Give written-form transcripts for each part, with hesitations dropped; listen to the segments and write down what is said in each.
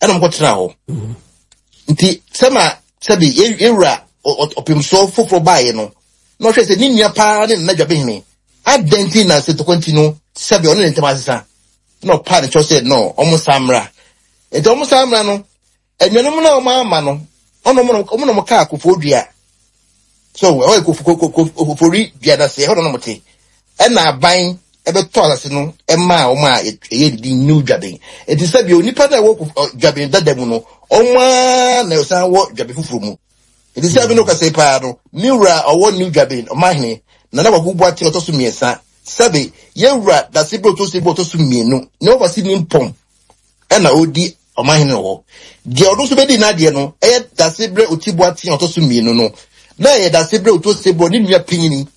Ɛna wɔn kɔtena hɔ. Nti sɛma sɛbi yɛwura ɔpemsoɔ foforɔ baeɛ no, na ɔhwɛ sɛ ne nua paa ne Nana Dwabehene, adɛn nti na sɛ ntɔkwa nti no sɛbi ɔne ne ntam asesa, na ɔpaa ne kyɛw sɛ no ɔmo san mmra. Nti ɔmo san mmra no, anuanom no a ɔmo ama no, ɔno ɔmo na ɔmo kaa Kofoɔ Dua. So ɛhɔ yɛ Kofori Dua no ase, ɛhɔ na ɔmo te. Ɛna aban ɛbɛtɔ asase no ɛmaa wɔn a ɛyɛ didi New Dwaben. Nti sɛbi onipa no a ɛwɔ Dwaben dada mu no, ɔmo ara na ɔsan wɔ Dwaben foforɔ mu. Nti sɛ bi no kasa yi paa no, me wura a ɔwɔ New Dwaben, ɔmanhene, Nana Kwaku Boateng ɔtɔ so mmiɛnsa, sɛbe yɛn wura Dasebere Otosebu ɔtɔ so mmienu, ne wɔfa si Nimpɔn ɛna ɔredi ɔmanhene wɔ hɔ. Deɛ ɔno nso bɛdi n'adeɛ no ɛyɛ Dasebere Oti Boateng ɔtɔ so mmienu no, na ɛyɛ Dasebere Otosebu ne nua panyini.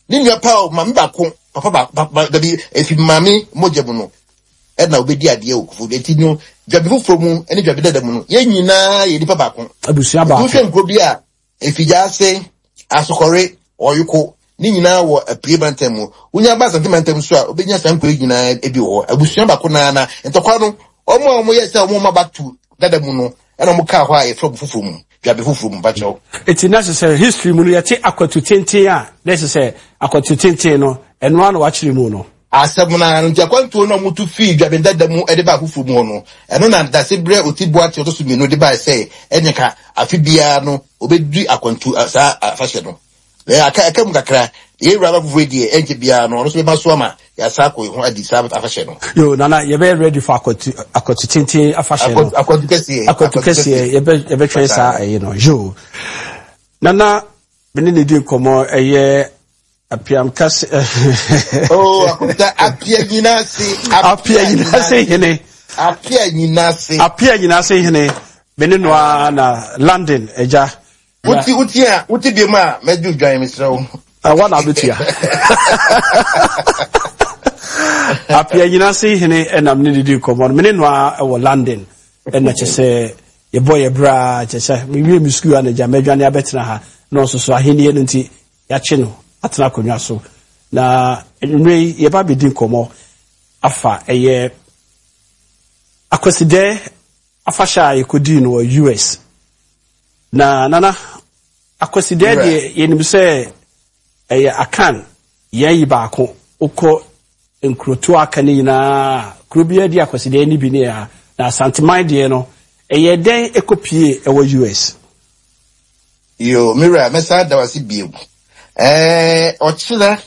Ne nua paa o, maame baako, papa baako, dabi, efi maame mogya mu no, ɛna obedi adeɛ wɔ kufu. Eti no, dwabi foforɔ mu ne dwabi dada mu no, yɛn nyinaa yɛ nipa baako. Abusua baako. Wohwɛ nkuro bi a, Efigyaase, Asokɔre, Ɔyoko, ne nyinaa wɔ Apue mantam mu. Wonya ba Asante mantam so a, wobɛnya saa nkuro yi nyinaa bi wɔ hɔ. Abusua baako naa na ntɔkwa no, wɔn a wɔyɛ sɛ wɔn ma back to dada mu no, ɛna wɔn kaa hɔ a yɛfrɛ wɔn foforɔ mu, dwabe foforɔ mu, mpakyɛw. Eti na kyerɛ sɛ history mu no yɛte akwatu tenten a, na kyerɛ sɛ akwatu tenten no, ɛno ara na wakyerɛ mu no. Asɛm no ara no, nti akwantuo no a wɔtu fii dwabe dada mu de baa foforɔ mu hɔ no, ɛno na Dasebrɛ Oti Boakye ɔtɔ so mmienu de bae sɛ ɛne ka afe biara no wɔbɛdi akwantu saa afahyɛ no. Na aka ɛka mu kakra, yɛn wura aba foforɔ yi deɛ ɛnkyɛ biara no ɔno nso bɛma so ama yɛasa akɔ ho adi saa afahyɛ no. Yo nana yɛbɛyɛ ready for akwatu akwatu tenten afahyɛ no. Akwatu kɛseɛ. Akwatu kɛseɛ yɛbɛ yɛbɛtwɛn saa ɛyi no. Yo nana me ne ne di nkɔmɔ ɛyɛ apiam kɛse. Oh akwata apia nyina ase. Apia nyina ase hene. Apia nyina ase. Apia nyina ase hene. Me ne no ara na London agya. Wuti wuti a wuti bi mu a mɛgye odwan mesrɛ wo. Ɛwɔ na abetua. Apia nyina se hene ɛnam ne didi nkɔmmɔ no mene noa ɛwɔ London ɛna kyɛ sɛ yɛbɔ yɛ bra kyɛ sɛ mewie me sukuu ana gya mɛdwane abɛtena ha na ɔso so ahennie no nti yɛakye no atena akonnwa so na nnwummerɛ yi yɛba bɛdi nkɔmmɔ afa ɛyɛ akwasidɛ afahyɛ a yɛkɔdii no wɔ US Na Nana, Akwasidɛɛ deɛ yɛnim sɛ ɛyɛ Akan yɛn yi baako, wokɔ nkurotoɔ aka no nyinaa kuro biara di Akwasidɛɛ no bi ne ha, na Asanteman deɛ no ɛyɛɛ dɛn ɛkɔpie ɛwɔ US? Yoo, me wura, mɛsan ada wo ase bio. Ɛɛ, ɔkyena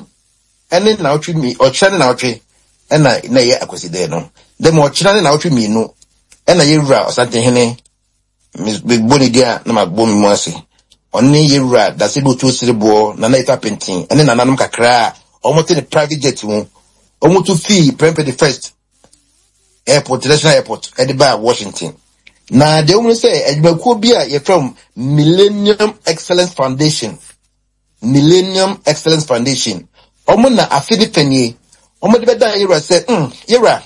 ne naawɔtwe mi, ɔkyena ne naawɔtwe ɛna na ɛyɛ Akwasidɛɛ no. Dɛm ɔkyena ne naawɔtwe mmienu ɛna yɛwura Ɔsantehene Mebɔ ne din a na mabɔ me mu ase. Ɔno ne yɛn wura Dasebe Otuo Sereboɔ, Nana Efa Penten ne nananom kakra a wɔte ne private jet mu. Wɔtu fii Prempeh the First Airport, International Airport de baa Washington. Na deɛ wɔn ne sɛ adwumakuo bi a yɛfrɛ wɔn Millennium Excellence Foundation Millennium Excellence Foundation, wɔn na afe ne fɛ nie, wɔde bɛdan yɛwura sɛ, yɛwura,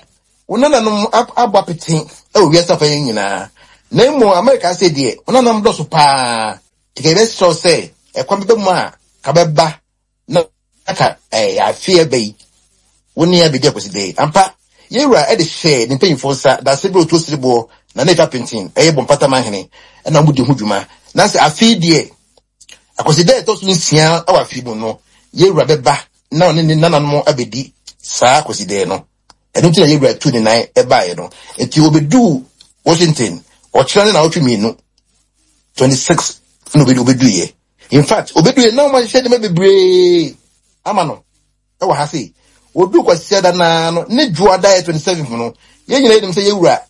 wo nananom abɔ apete wɔ wiase afa yi nyinaa, na mmom Amerika ase deɛ, wo nananom dɔso paa, nti ka yɛbɛsrɛ wo sɛ ɛkwan bɛba mu a, ka bɛba na ka ɛɛ afe ɛbɛ yi, wo ne yɛn abɛdi akwasida yi. Ampa, yɛwura de hyɛɛ ne mpanyinfoɔ nsa, Daase berɛ otuo sereboɔ, Nana Efa Penten, ɛyɛ Bɔmpata Manhene, ɛna wɔdi ho dwuma. Na sɛ afe yi deɛ, Akwasi da a ɛtɔ so nsia wɔ afe mu no, yɛn wura bɛba na ɔne ne nananom abɛdi saa Kwasidaɛ no. Ɛno nti na yɛn wura tuu ne nan baeɛ no. Nti ɔbɛduu Washington ɔkyena ne naawɔtwe mmienu, 26 na ɔbɛduiɛ. In fact, ɔbɛduiɛ na wɔahyehyɛ nneɛma bebree ama no wɔ ha sei. Ɔduu Kwasiada no ara no, ne Dwoada yɛ 27 no, yɛn nyinaa yɛnim sɛ yɛn wura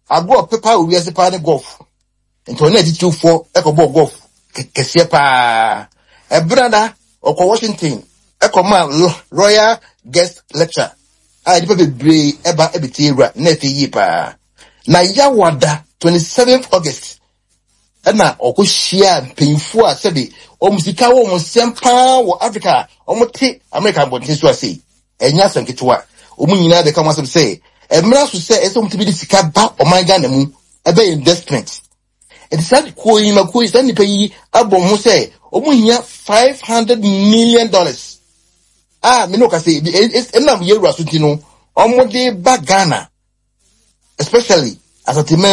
agorɔ ɔpɛ paa wɔ wiase paa ne golf. Nti ɔne atitiriwfoɔ kɔbɔɔ golf kɛseɛ paa. Ɛberɛ na ɔkɔ Washington kɔmaa Royal Guest Lecture a nnipa bebree ba bɛtie wura na ɛfɛ yie paa. Na Yawada 27th August ɛna ɔkɔhyia mpanyinfoɔ a sɛbe wɔn sika wɔ wɔn nsɛm paa wɔ Africa a wɔte Amerika abɔnten so ase. Ɛnyɛ asɛm ketewa. Wɔn nyinaa bɛka wɔn asɛm sɛ ɛmmra so sɛ ɛsɛ wɔn tumi de sika ba ɔman Ghana mu ɛbɛyɛ investment. Nti saa kuo yi ma kuo yi saa nnipa yi abɔ ho sɛ wɔn hia $500 million a me ne ɔka sɛ ɛnam yɛwura so nti no wɔn de ba Ghana, especially Asanteman.